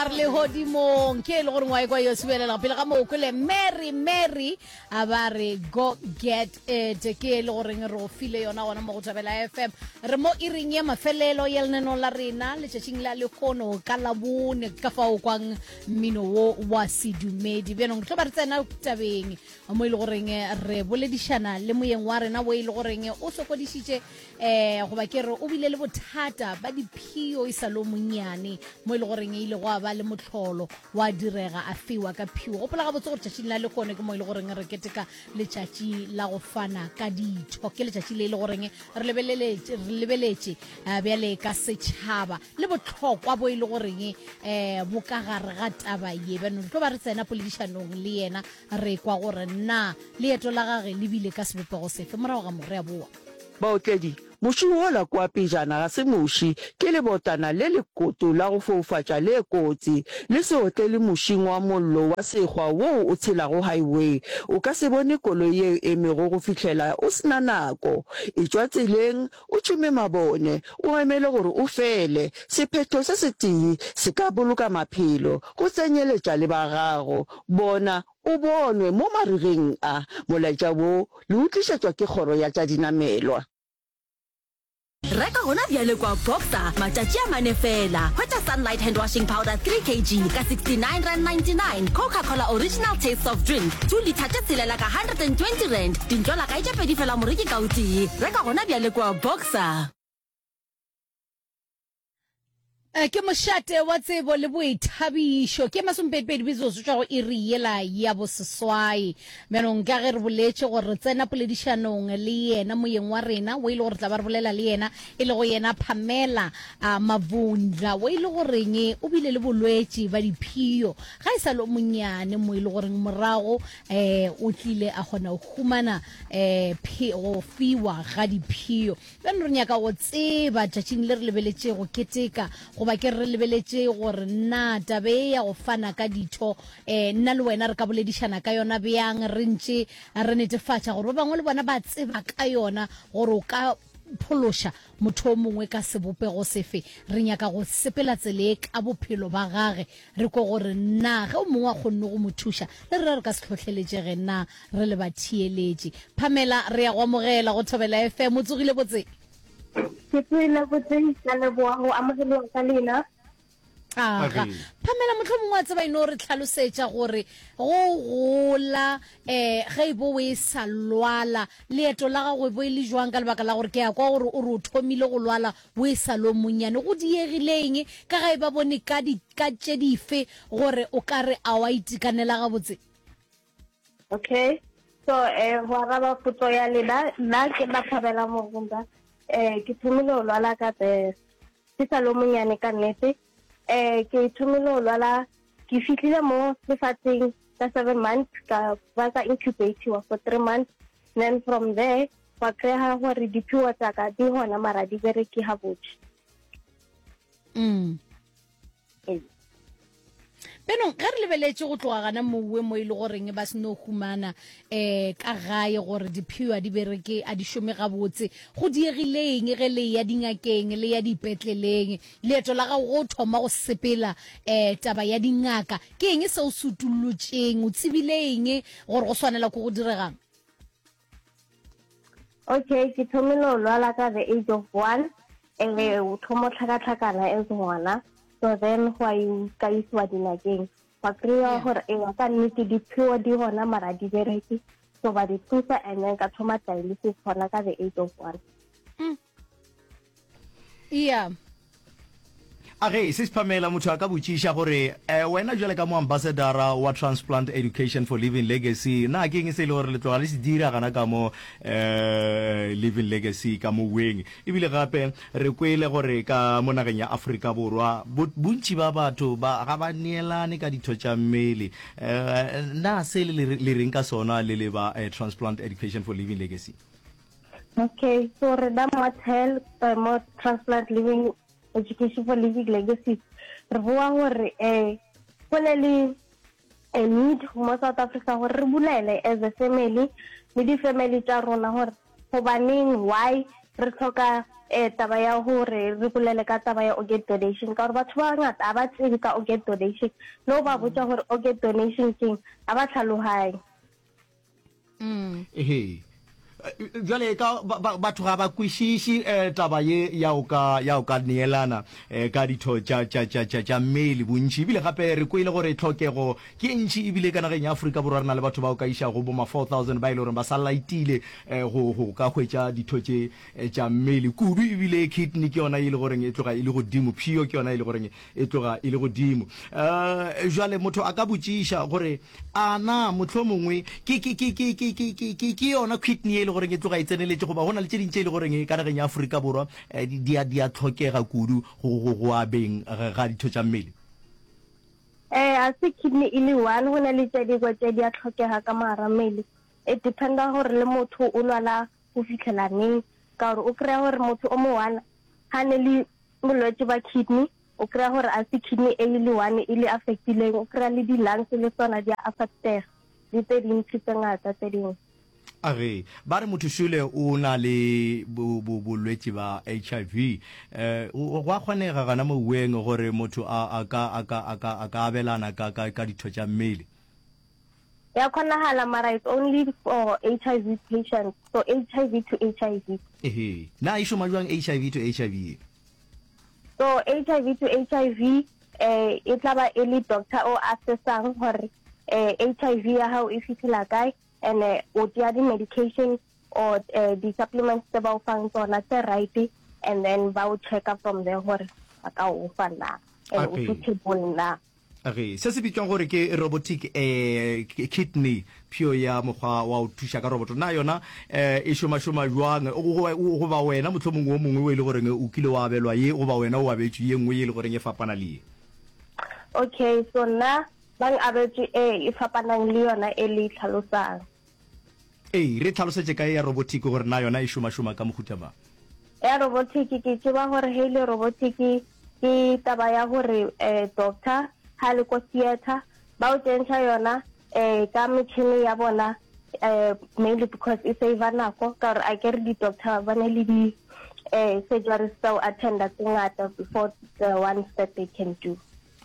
Ba re legodimong ke e le gore ngwae kwa yo subelela pele ga moo kwele Mary Mary a ba re go get it ke e le goreng re go file yona gona mo go Thobela FM re mo iring ya mafelelo ya lenaneo la rena letšatšing la lehono ka labone ka fao kwang mmino wo wa sedumedi bjanong re tlo ba re tsena tabeng mo e le goreng re boledišana le moyeng wa rena wo e le goreng o sokodišitše um goba ke re o bile le bothata ba diphio e sa le o monnyane mo e le goreng e ile go a ba le mohlolo wa direga a fiwa ka phio. Gopola gabotse gore tšatšing la lehono ke mo e le goreng re keteka letšatši la go fana ka ditho. Ke letšatši le e le goreng re lebeleletše re lebeletše eh, bjale ka setšhaba le bohlokwa bo e le goreng um bo ka gare ga taba ye. Bjano re tlo ba re tsena poledišanong le yena re kwa gore na leeto la gage le bile ka sebopego sefe. Morago ga mo re a boa. Baotledi, Muši wola kua pejana ga se muši, ke lebotana le lekoto la go foufatša le kotsi. Le se otlele mušing wa mollo wa sekgwa woo o tshelago highway. O ka se bone koloi ye e emego go fihlela o se na nako. Etšwa tseleng, o tšhume mabone, o emele gore o fele. Sephetho se setee se ka boloka maphelo, go tsenyeletša le ba gago. Bona, O bonwe mo marigeng a. Molaetša wo le o tlišetšwa ke Kgoro ya tša Dinamelwa. Reka gona bjale kwa Boxer, matšatši a mane feela. Hwetša Sunlight Hand Washing Powder 3 kg ka R69.99, Coca-Cola Original Taste Soft Drink 2 litre tše tshelela ka R120, dintlolakae tše pedi fela moreki ka o tee. Reka gona bjale kwa Boxer. Eh, ke mošate wa tsebo le boithabišo ke masomepedipedi metsotso tšwa go iri yela ya boseswai bjanong ka ge re boletše gore re tsena poledišanong le yena moyeng wa rena o e le gore tla ba re bolela le yena e le go yena pamela a mavundla o e le goreng o bile le bolwetši ba diphio ga e sa le o monnyane mo e le goreng morago um o tlile a kgona go humana um go fiwa ga diphio Bjale re nyaka go tseba tšatšing le re lebeletše go keteka, goba ke re re lebeletše gore na taba e ya go fana ka ditho, eh, nna le wena re ka boledišana ka yona bjang, re ntše re netefatša gore ba bangwe le bona ba tseba ka yona, gore o ka phološa motho o mongwe ka sebopego sefe. Re nyaka go sepela tsela e ka bophelo ba gage, re kwe gore na ge o mongwe a kgonne go mo thuša, le rena re ka se hlohleletšege na re le batheeletši. Pamela, re ya go amogela go Thobela FM. O tsogile botse? Ke tsogile botse, ka leboga go amogelewa ka lena. Aga. Pamela, mohlomongwe wa tseba e no re tlhalosetša gore go gola um ge e bo o e sa lwala, leeto la gago e bo e le jwang ka lebaka la gore ke a kwa gore o re o thomile go lwala o e sa le o monnyane. Go diegile eng ka ga e ba bone ka di ka tše dife gore o ka re a wa itekanela gabotse? Okay, so eh go araba potso ya lena, nna ke Mathabela Morunda. Eh ke thomile go lwala ka the ke sa le monyane ka nnete. Eh ke thomile go lwala ke fihlile mo lefatsheng ka 7 months ka ba ka incubatiwa for 3 months then from there gwa kry-a gore diphiwo tsa ka di gona mara di bereke gabotse. Mm. Benong ge re lebeletše go tloga gana mowe mo e le goreng ba se no humana um ka gae gore diphiwa di bereke a di šome gabotse go diegileng ge le ya dingakeng le ya dipetleleng leeto la gago go thoma go sepela um taba ya dingaka ke eng se o se utullotšeng o tsebile eng gore go swanela ko go diregang Okay, ke thomile go lwala ka the age of one and o thoma tlhakatlhakana as ngwana so then go a ka isiwa dinakeng wa kry-a gore eya ka nnete dipheo di gona mara di bereke so ba di thusa and then ka thoma dialysis gona ka the age of one mm. Yeah. A ge se Pamela motho a ka botšiša gore eh, wena jwale ka mo ambassadora wa Transplant Education for Living Legacy na ke eng se e le gore le tloga le se dira gana ka mo eh, Living Legacy ka mo weng ebile gape re kwele gore ka mo nageng ya Afrika Borwa bontši ba batho ba ga ba neelane ka ditho tša mmele eh, na se le le reng ka sona le le ba eh, Transplant Education for Living Legacy? Okay, so rena mo TEL, eh, mo Transplant Living Education for Living Legacies, re boa gore eh go ne le a need mo South Africa gore re bulele as a family le di-family tša rona gore gobaneng why. Re hloka eh taba ya gore re bolele ka taba ya organ donation ka gore batho ba bangata ga ba tsebe ka organ donation le go ba botša gore organ donation keng ga ba tlhaloganye. Ehe. Bjale ka batho ga ba kwešiše eh, taba ye ya o ka ya o ka neelana eh, ka ditho tša tša tša tša tša mmele bontši ebile gape re kwele gore tlhokego ke e ntši ebile ka nageng ya Afrika Borwa re na le batho ba o ka išago bo ma 4000 ba e le gore ba sa laitile eh, go go ka hwetša ditho tše eh, tša mmele kudu ebile kidney ke yona e le goreng e tloga e le godimo phio ke yona e le goreng e tloga e le godimo eh, jwale motho a ka botšiša gore A na mohlomongwe ke, ke, ke, ke, ke, ke, ke, ke, ke yona kidney ye e le goreng e tloga e tseneletše, goba go na le tše ding tše e le goreng ka nageng ya Afrika Borwa eh, di, di a, di a hlokega kudu go, go, go abeng ga, ga ditho tša mmele? Eh, a se kidney e le one, go na le tše dingwe tše di a hlokega ka mogara mmele. E dependa gore le motho o lwala go fihlela neng, ka gore o kry-a gore motho o mo one ga ne le bolwetši ba kidney, O kry-a gore a se kidney e le one e le affectileng, o kry-a le di-lungs le tsona di a affectega le tse dintši tse ngata tse dingwe. A re, ba re motho šole o na le bolwetši ba HIV. Eh, go a kgonega gana moweng gore motho a, a ka, a ka, a ka, a ka abelana ka, ka, ka ditho tša mmele. Ya kgonagala mara it's only for HIV patients, so HIV to HIV. Ehe, na e šoma jwang HIV to HIV ye? So HIV to HIV eh e tla ba e le doctor o assessang gore eh HIV ya gago e fitlhela kae and eh, o tšea di-medication or eh, di-supplements tse ba o fang tsona tse right and then ba o checka from there gore ba ka o fa na and o suitable na. Ge se se bitšwang gore ke robotic eh, kidney, phio ya mokgwa wa go thuša ka roboto, na yona eh, e šomašoma bjang? Goba wena mohlomongwe wo mongwe o e le goreng o kile wa abelwa ye, goba wena o abetšwe ye nngwe ye e le goreng e fapana le ye? Okay, so nna ba abetše e e fapanang le yona e le e tlhalosang. Ee, re tlhalosetše ka ye ya robotic gore na yona e šomašoma ka mohuta mang. Ya robotic ke tseba gore ge e le robotic ke taba ya gore um doctor ha le ko theatre ba o tsentšha yona um ka metšhini ya bona um mainly because e save nako ka gore a kere di-doctor ba ne le di um surgeries tsa go attenda tse ngata before the ones that they can do.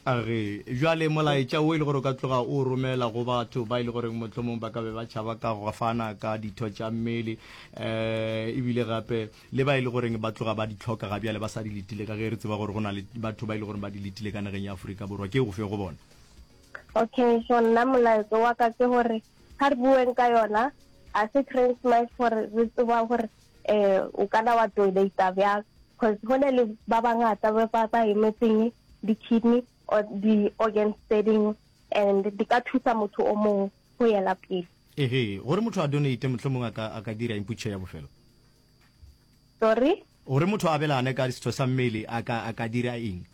A re, Bjale molaetša wo e le gore o ka tloga o o romela go batho ba e le goreng mohlomong ba ka be ba tšhaba ka go fana ka ditho tša mmele, um ebile gape le ba e le goreng ba tloga ba di hloka ga bjale ba sa di letile, ka ge re tseba gore go na le batho ba e le goreng ba di letile ka nageng ya Afrika Borwa, ke ofe go bona? Okay, so nna molaetša wa ka ke gore ga re bueng ka yona, ga se Christmas gore re tseba gore um o kana wa donata bjang, cause go na le ba bangata ba ba emetseng di-kidney or di-organs tse dingwe and di ka thusa motho o mongwe go yela pele. Ehe, gore motho a donate mohlomong a ka a ka dira eng potšišo ya bofelo? Sorry? Gore motho a abelane ka setho sa mmele a ka a ka dira eng?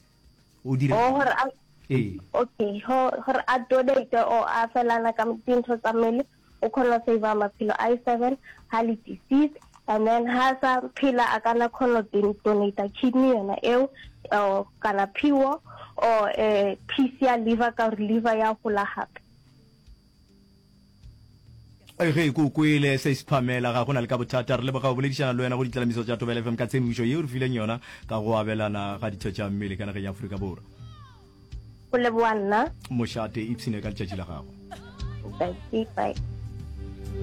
O dira Oh, gore a Ee. Okay, gore a donate or a felana ka dintho tsa mmele o kgona go save maphelo a 7 ha le deceased and then ha sa phela a kana kgona go donate kidney yona eo or kana phiwo or eh, piece ya liver ka gore liver ya gola gape. Ge ke o kwele se Pamela, ga go na le ka bothata. Re leboga go boledišana le wena go ditlalamiso tša Thobela FM ka tshedimošo yeo re fileng yona ka go abelana ga ditho tša mmele ka nageng ya Afrika Borwa. Go leboga nna. Mošate, ipshine ka letšatši la gago. Bye. Bye.